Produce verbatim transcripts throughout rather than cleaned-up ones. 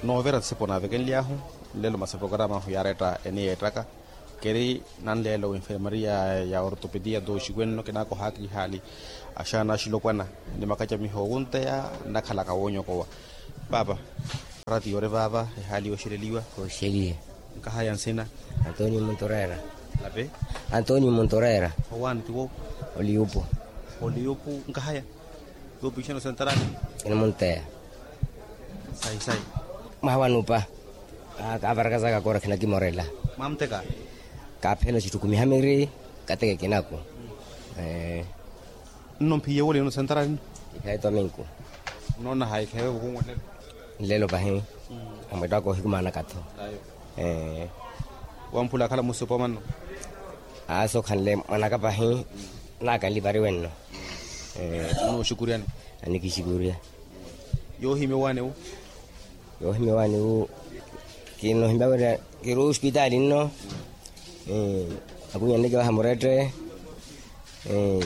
Noovira tisipo naavekenly'ahu nlelo masi programa ahu yaaretta eniyeettaka. Keri nanleelo w'infermaria ya ortopediya nto oxikwenno kinaakohaaka ihaali axaana axilopwana ni makacamiho okunteya nnakhalaka woonyokowa. Paapa, ratiyo ori vaava ehaali yooxeleliwa. Oxeliye. Nkahaya nsina? Antonio montorera. Lapi? Antonio montorera. Owaani tiwo? Oliyupu. Oliyupu nkahaya? Yoopiixana osentarani? Kinimunteya. Sayi sayi. Mwaha wanupa. Kaavarakasaka kora khinakimorela. Mwamuteka? Kaaphela oxitthukumi hamiri kateke kinaku. Nno mphiye wole yino sentarani? Ikhayi tominku. Nnoona hayi khewe vukunwa nlelo? Nlelo pahi. Amwetto aka ohikumanaka-tho. Wamphula akhala musipo manno? Aasi okhanle mwanaka pahi. Naakanli pari wenno. Nno oxikuryani? Anikixikuria. Yoohimya owaani wu? Yoohimya owaani wu. Kinoohimya wira kiri ospitaali nno. Akunyanneke vaha murette.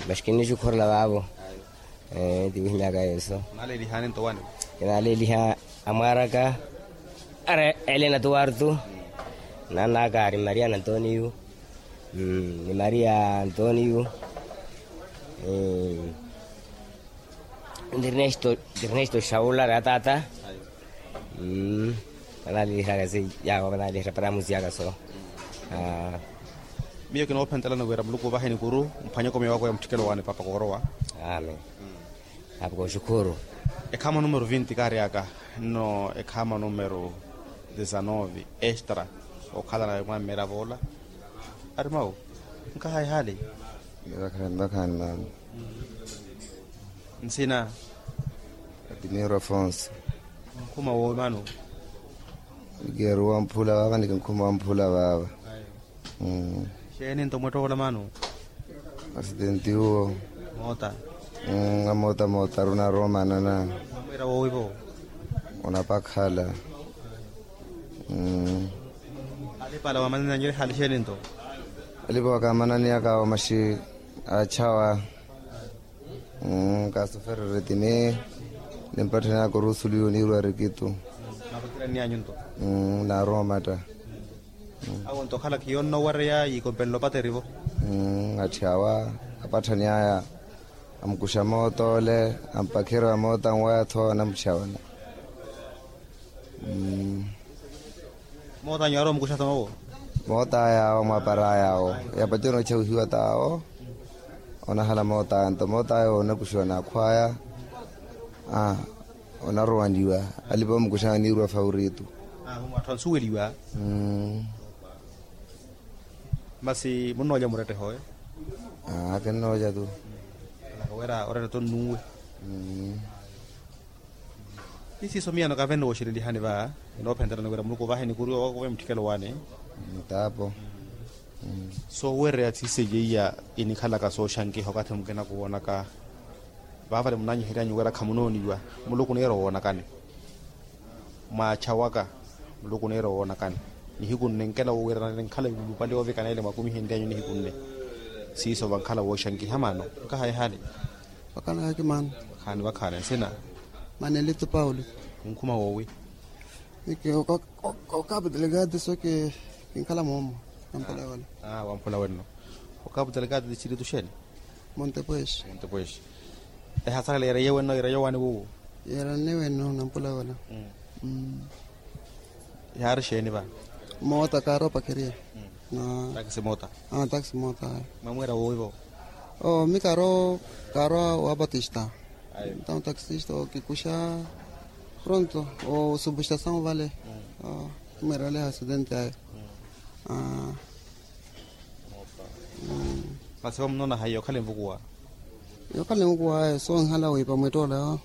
Maxi kinnixukhorela vaavo. Ti wihimyaka yeeso. Kinaaleliha amwaaraka ari elena tuwartu. Naanaka ari maria antonio. Ni maria antonio. Ni ernesto shaula ari ataata. Vanaalelihaka si yaawo vanaalelihaka para musi yaka so. Miyo kinoophentela ni wira muluku ovahe nikuru. Mphwanyeko miyo wako ya mutthikelo waani papa koorowa. Amen. Apo kooxukhuru. Ekhaama numero vinti kaaryaka nno ekhaama numero desanove extra. Okhalana mwammera voola ari mawu. Nkaha ehaali. Vakhaani vakhaani mamu. Nsina? Adimiro afonso. Nkhuma woowi mano? Nikeeru wamphula vaava nikinkhuma wamphula vaava. Xeeni nto mwettokola mano? Asidenti uwo. Moota? Amoota moota ari onaroomanana. Namwira woowi vo? Onapakhala. Alipala wamananyele hali xeeni nto? Alipa wakamananiyaka awo maxi achawa. Kaasuferereti ni nimpatthani aka orusuliwa oniirwa rikitu. Naaroomatta. Awo nto okhala khiyonno owareya yiikompenle opaterivo. Atthi awa apatthani aya amukuxa moota ole ampakherya wa moota nwaya-tho anamuxawana. Moota anyu aari omukuxa-tho mawo? Moota aya awo mwapara aya awo. Yapacana ochawihiwa t'awo. Onahala moota aya nto moota aya onakuxiwa n'akhwaya. Onarowaniwa. Alipa omukuxa aniirwa fauritu. Atthu ansuweliwa. Masi munnoolya muretteho oyo? Kinnoolya tu. Wira oretteto nnuwe. Isiiso miyano kavene wooxelelihani va. Inoophentelani wira muluku ovahe nikuru owakuve mutthikelo waani. Tapo. Soowereya tsiseiya iya inikhalaka sooxankiha okathi mukina kuwoonaka. Vaavale munaanyihery'anyu wira khamunooniwa. Muluku oniira owoonakani. Mwaachawaka muluku oniira owoonakani. Nihiku nne nkela wowirana ninkhala yulupale yoovikana ele mwakumihenry'anyu nihiku nne. Siiso vankhala wooxankiha mano. Nkaha ehaali. Vakhaani vakhaani nsina? Manelito paulo. Munkhuma woowi? Okapu delegado so kinkhala moomo. Namphula wala. Wamphula wenno. Okapu delegado distritu xeeni? Montepuex. Montepuex. Ehasala leereye wenno yeereye owaani wuwo? Yeerane wenno nampula wala. Yaari xeeni va? Moota kaari opakeria. Taxi moota. Taxi moota. Mwamweera woowi vo? Mi kaari kaari wa batista. Ntawo taxista okikuxa pronto osubustasawu vale. Mweerele asidenti ayo. Masi va munoona hayi yookhala envukuwa? Yookhala envukuwa ayo soonhala wiipa mwettoolayo.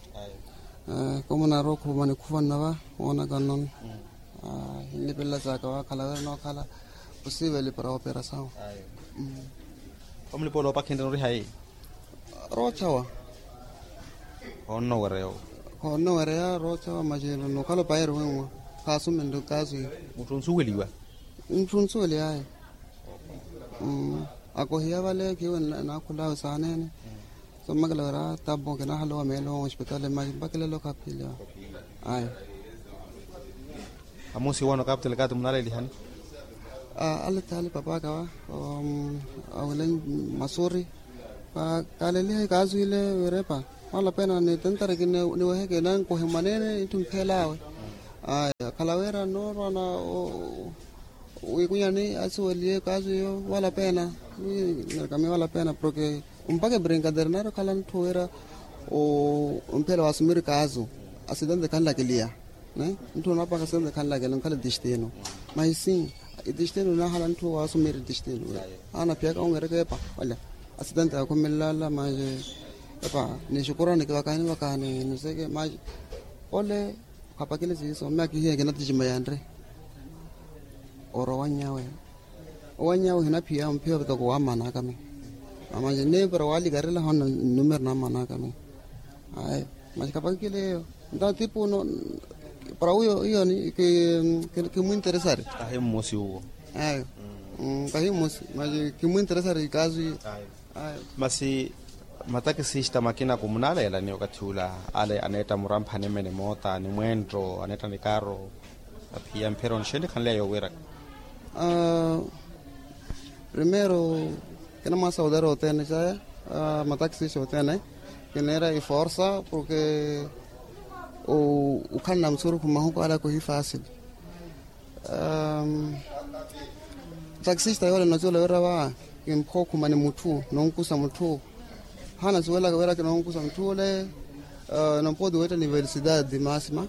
Komunaarowa okhuma nikhuvanna va woonaka nnono. Hinlipelela saaka waakhala wira nookhala. Osiiveli para operasawu. Omulipoola opakhinre nori hayi? Roochawa. Khoonno wereya owo. Khoonno wereya roochawa masi nokhala opayeri wenwa. Khaasumenle okasu. Mutthu onsuweliwa? Mutthu onsuweliwa ayi. Akohiya vale khiwe naakhulawe saaneene. Sommakela wira tapo kinaahalowa meelo ospitali masi mpakelelo khaphiliwa. Ayi. Amusi wono kapitali kati munalelihani? Ale thaali papaka wa awile masuri. Kaleliha ikaasu ile wirepa wala pena ni tentari kini niweheke nankuhe mwanene itti mphelawe. Aya khala wira noorwana wikunyani asiweliye ikaasu iyo wala pena. Nirikamiya wala pena porke mpakha ebrinkader nari okhala ntthu wira omphela wasumiri ikaasu asitente khanlakiliya. Ntthu onapaka asitente khanlakiliya onkhala etistino. Maisi etistino nahala ntthu wasumiri etistino. Anaphiyaka onwereke epa olya asitente akhumelelala maye. Epa nixukurani kivakani vakani nuseke maye. Ole khapakile siiso mme akihiye kinaticimeya nri. Oro owanyawe owanyawe ohinaphiya omphiya vitoko wamanakami. Amanje nipira walikarela hona numero namanakami. Ayo manje khapakile eyo. Nta tipu no para uyo iyoni kimwinteresari. Kahi mmosi uwo. Ayo kahi mmosi manje kimwinteresari ikaasu iyo. Masi matakisista makina kumunaleelani okathi ula ale aneetta muramphani mme ni moota ni mwenttho aneetta ni kaaro. Aphiya mphero nixeeni khanleya yowiiraka. Primero kinamwasa othene othene caya mataxi othene. Kineera iforsa porke ukhalana musurukhu mahuku ala kuhi fasili. Taxista yoole notyola wira va kimphokhuma ni mutthu nonkusa mutthu. Haana suwelaka wira kinonkusa mutthu ole. Nompoti wetta universidade masima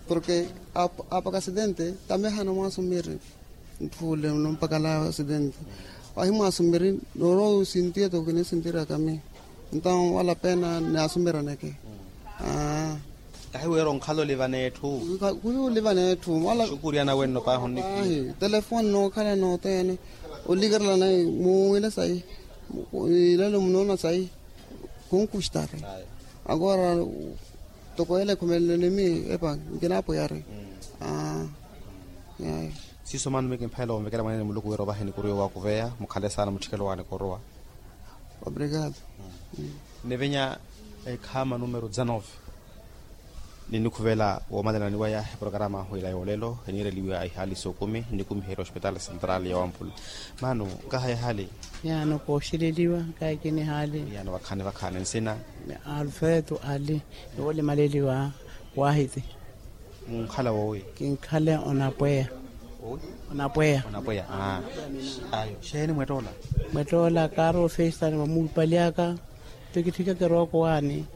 porke apaka asidente tamehana mwasumiri. Ntthu ole nompakala asidente wahi mwasumiri. Norowa osintiya toko kinisintiraka mi. Ntawo wala pena ni asumiraneke. Kahi wira onkhala oliva n'etthu. Kuyu oliva n'etthu wala. Xukuriyana wenno paahi onnipiya. Telefoni nookhala nothene olikerela nayi muwile sayi. Ilelo munoona sayi kunkustari. Agora toko ele ekhumelele ni mi epa nkinapwiyari. Siiso maano mi kimphela onvekela mwaneene muluku wira ovahe nikuru yowakuveya mukhale saana mutthikelo waani korowa. Obrigado. Nivinya ekhaama numero dezanove. Ninikhuvela woomalelani waya eprokarama ahu ila yoolelo eniireliwa ihaali s'okumi nikumiherya ospitaali central ya wampula. Maano nkaha ehaali? Yaano kooxeleliwa. Nkaha ekini ehaali? Yaano vakhaani vakhaani nsina? Alfredo ali. Niwolimaleliwa wahiti. Munkhala woowi? Kinkhala onapweya. Onapweya. Onapweya. Ayo xeeni mwettoola? Mwettoola kaari ofesitani vamuupalyaka. Tokitthikaka erooko waani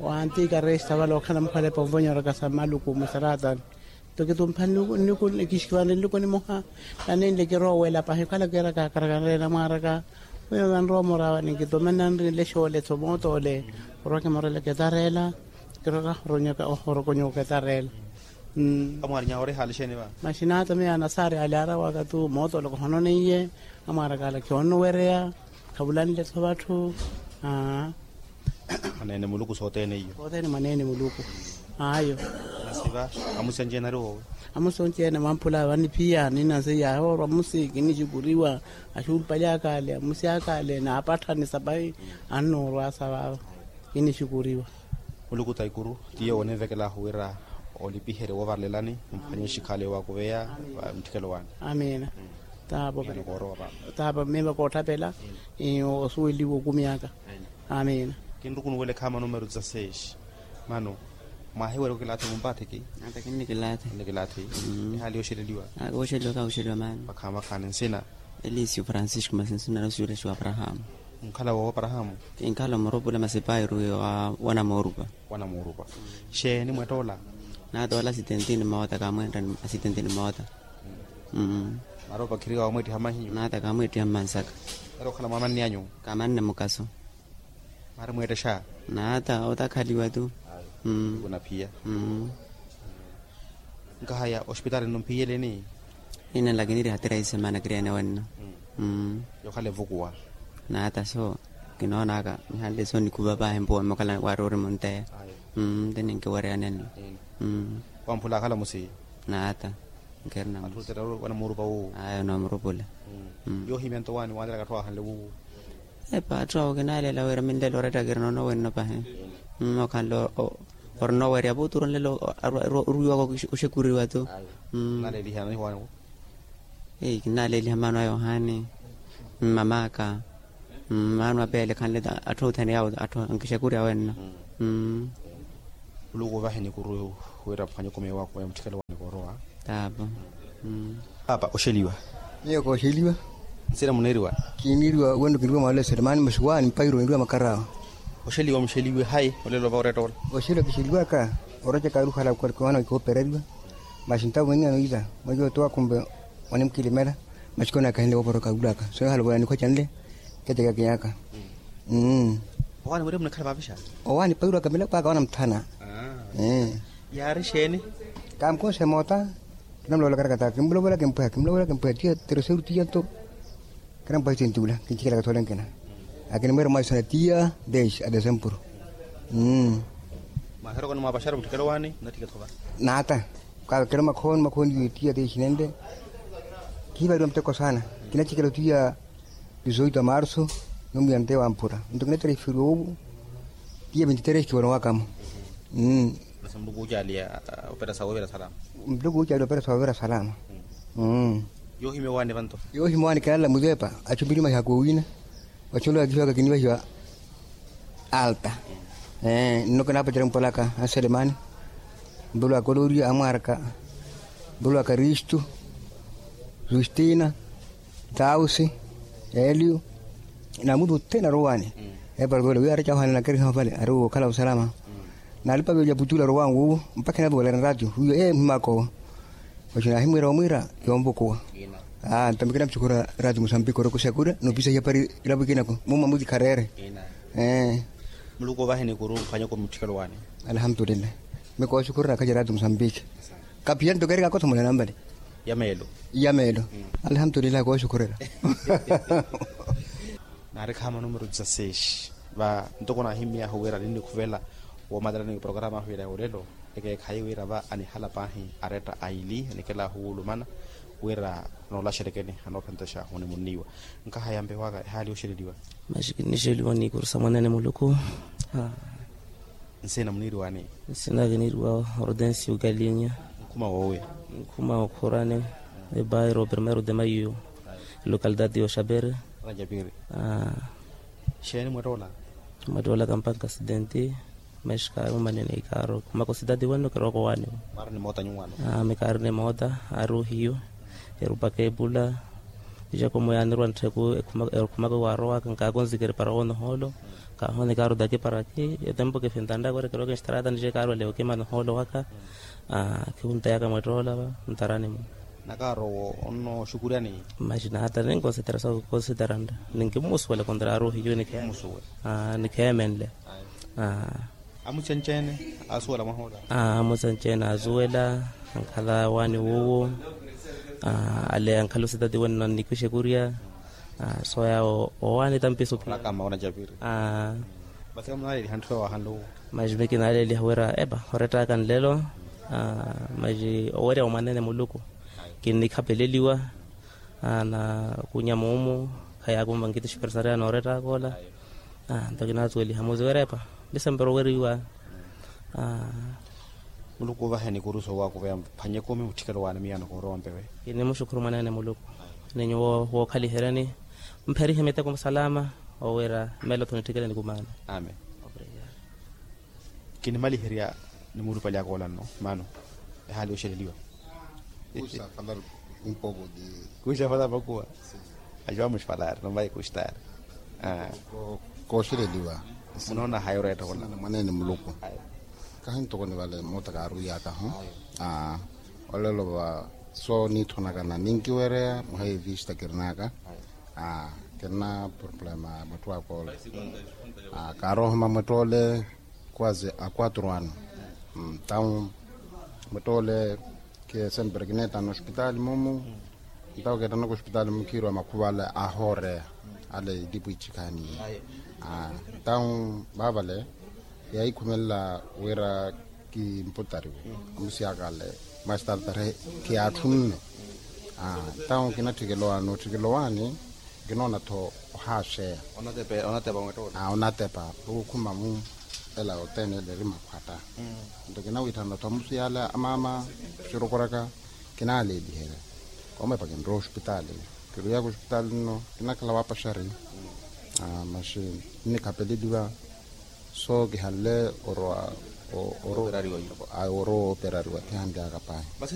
wantiika resta vale okhala mukhalepa onvonyoraka sa maluku musaraatani. Tokitumpha nniku nniku nikixikivani nniku nimoha. Nanenle kiroowela pahi okhala kiira kaakarakanale namwaaraka. Wiiwa vanrowa murawa ninkitoma nanrinle xoole tho mootoole. Orwa kimorela ketareela. Kiroka ohorokonyoka etareela. Amwaarinya ori ehaali xeeni va? Maxinaata miyo anasaari ali arawaka tu mootoole kohononeiye. Amwaaraka ala khionowereya. Khavulanle tho vatthu. Mwaneene muluku sothene iyo. Sothene mwaneene muluku. Ayo. Masi va amusi anci-ene ari woowi? Amusi onci-ene mwampula vaniphiya ninansi yahoorwa amusi kinixukuriwa. Axuupalyaka ale amusi aka ale naapatthani sapahi. Annoorwasa vaava kinixukuriwa. Muluku taikuru ti yowo oninvekelaahu wira olipiherye woovarelelani mphwanye exikhaala yoowakuveya. Mutthikelo waani. Amiina. Taapa miiva kootthapela. Osuweliwa okumi aka. Amiina. Kinrukunuwela ekhaama numero dezasseis. Mano mwahiwerya okilaatha mumpathiki? Ata kinnikilaathi. Kinnikilaathi. Ehaali yooxeleliwa? Kooxeliwa kaaxeliwa maano. Vakhaani vakhaani nsina? Elisio francisco masi nsina nosiwelexiwa aprahamu. Munkhala woowo aprahamu? Kinkhala omurupula masi pairu wa wanamuurupa. Wanamuurupa. Xeeni mwettoola? Naatoola asitentini moota kaamwentta asitentini moota. Mara opakhiriwa wamweettiha mahinyu? Naata kaamweettiha mmansaka. Eri okhala mwamanni anyu? Kamanne mukaso. Mari mweettexa? Naata otakhaliwa tu. Kunaphiya. Nkahaya ospitaali nno mphiyeleni? Ina lakini eri hatira isemana kiriene wenno. Yokhala evukuwa. Naata so kinoonaka nihanle so nikhuva paahi mpuwa mokhala wari ori munteya. Nti ninkiwereyani enno. Wamphula akhala musi? Naata. Nkerina musi. Wanamurupa wuwo? Ayo namurupula. Yoohimya nto waani waniraka atthu ahanle wuwo? Epa atthu awo kinaalela wira minlelo oretta kirina ono wenno pahi. Okhanle Ori nooweerya vuutu ori onlelo orwiwaka oxekuriwa tu. Naleeliha nihwaani wo. Ei kinnaleeliha maano a yohani, mmamaka, maano a peele khanle atthu othene yawo atthu ankixekurya wenno. Muluku ovahe nikuru wira phwanye okomeya wakumeya mutthikelo waani koorowa. Taapo. Paapa oxeliwa. Miyo kooxeliwa. Nsina muniiriwa. Kiiniiriwa wenno kiniiriwa mwaala eselemani masi waani mpairo niiriwa makarawa. Oxeliwa muxeliwe hayi olelo va oreetta ola. Oxeliwa kixeliwaka. Orocaka aruhala koopereriwa. Masi ntawo mweniyano ila mweyo oto akhumpe onimukilimela. Masi koonakahinle wooporoka wulaka soyo halovola nikhwa canle. Kecekakeyaka. Owaani wira munakhala vaavixa. Owaani pairwaka milako aka wana muthana. Yaari xeeni? Kamukonse moota. Kinamulowolaka rakata kimulowolaka mpweha kimulowolaka mpweha tiya tereseru tiya nto. Kinampwahi tintula kinchikelaka thole nkina. Akinimwera mwaisana tiya deix a desempuru. Mwaheroko nimwapaxara mutthikelo waani mnatthiketho va. Naata. Kakelo makhooni makhooni tiya deix nenle. Kihivaliwa muteko saana. Kinachikela tiya dizoito a marso. Numuyante wamphura nto kinatereferiwa owu. Tiya vinti tres kiwonowakamo. Muluku wuucaaliya opera sa wovira salama. Muluku wuucaaliya opera sa wovira salama. Yoohimya owaani vanto. Yoohimya owaani kinalla muzeepa. Achumpini mahiya koowina. Vachunlo yakihiwaka kinivahiwa. Alta. Nno kinaapacela mpolaka anselemani. Mpolo a koloria amwarka. Mpolo a karistu. Justina. Tausi. Elio. Na muthu othene arowaani. Eparapelo wiya ari cahohana nakeriha vale ari wookhala osalama. Nalipa vyoolya putula arowaani wuwo. Mpakha enavoolera ratio wiyo ee mhimakowo. Oxi naahimwiira omwiira. Yonvukuwa. Aa ntamikina muxukhura ratio musambiki orokuxakurya noopisa hiyapari. Ilapo ikinako mumma mutikhareere. Muluku ovahe nikuru mphwanyeko mutthikelo waani. Alhamdulillah. Mikooxukhurira akhaceratu musambiki. Kaphiya nto kerikakotho muna nampale. Ya meelo. Ya meelo. Alhamdulillah kooxukhurira. Naari khaama numero dizasexi. Va ntoko naahimmyahu wira ninnikhuvela woomatalani porokarama ahu ila ya olelo. Ekeekhayi wira va anihala paahi aretta aili anikela ahuwulumana. Wira noolaxerekeni anoophentaxa munimunniiwa. Nkaha yampewaka ehaali yooxeleliwa. Maxi kinnixeliwa ni kurusa mwanene muluku. Nsina muniiriwani? Nsina kiniiriwa hortensi ukalinya. Nkhuma woowi? Nkhuma okhurani. Ebairo primero de maio. Localidade yoxapere. Xeeni mwettoola? Mwettoola kampanka asidenti. Maxi kaari mumanene ikaaro khumaka osidadi wenno kirooko waani. Mwaari ni moota nyuwaano? Mikaari ni moota. Aari ohiyo. Erupaka epula. Jakomo yaanirwa ntthiku. Ekhumaka waarowaka nkaakonzikeri para woonohoolo. Kaahonika aruda kiparaki etempo kifintantta kwerekeroka nxitaratani jekaarwelewo kimana ohoolo waka. Khihunteyaka mwettoola va ntarani-mu. Nakaaro wo onnooxukuryani? Maxi naata ninkonsetera sa konseterantta. Ninkimmusuwela kontra aruhiyo nikheemenle. Amuchencheene asuwela mwahoora? Amuchencheene asuwela. Ankhala waani wuwo. Ale ankhala ositati wenno nnikwixe kurya. Soya owaani tampiso phi. Masi kinaaleliha wira epa orettaka nlelo. Masi owerya wa mwanene muluku. Kinnikhapeleliwa. Na kunya muumu. Khayaakumva nkitixipirisareya noorettaka ola. Nto kinaasuweliha muziwerepa. Ndisempero weriwa. Muluku ovahe nikuru soowakuveya mphwanye kumi mutthikelo waani miyano koorowa mpewe. Kinimuxukhuru mwanene muluku. Ni nyuwo wookhaliheryani. Mpherihe miteko salama. Owira melo tho nitthikele nikumaana. Amen. Kinimaliherya. Nimurupalyaka ola nno maano. Ehaali yooxeleliwa. Kuxa falaru. Kuxa falaru vakuwa. Ajuwa muxfalaari nomvayi kuxtaari. Kooxeleliwa. Munoona hayi oreetta ola? Mwanene muluku. Kahi ntoko nivale moota kaaruwiyaka ho. Olelo va soo niithonakana ninkiwereya muhayi vista kirinaka. Kirina problema ya mwettowaka ole. Kaaroohoma mwettole. Quase a quatro anos. Ntau mwettole ke sempre kineettana ospitali mumu. Ntau keettanaka ospitali mumu khiiriwa makhuva ale ahooreya. Ale itipu ichikhani. Ntau vaavale yaahikhumelela wira kimputariwe. Amusiyaka ale mwa estartare khiyaatthunne. Ntau kinatthikela owaani otthikela owaani. Kinoona-tho ohaaxeya. Onatepa. Onatepa. Okukhuma mu. Ela othene ele eri makhwatta. Nto kinawiitthana ottha musi yaale amaama, oxirokoraka, kinaaleeliherya. Koomepa kinrowa ospitaali. Kirwiyaka ospitaali nno kinakhala waapaxari. Maxi nnikhapeleliwa. So kihanle orowa orowa ooperariwa thihanlyaka pahi. Masi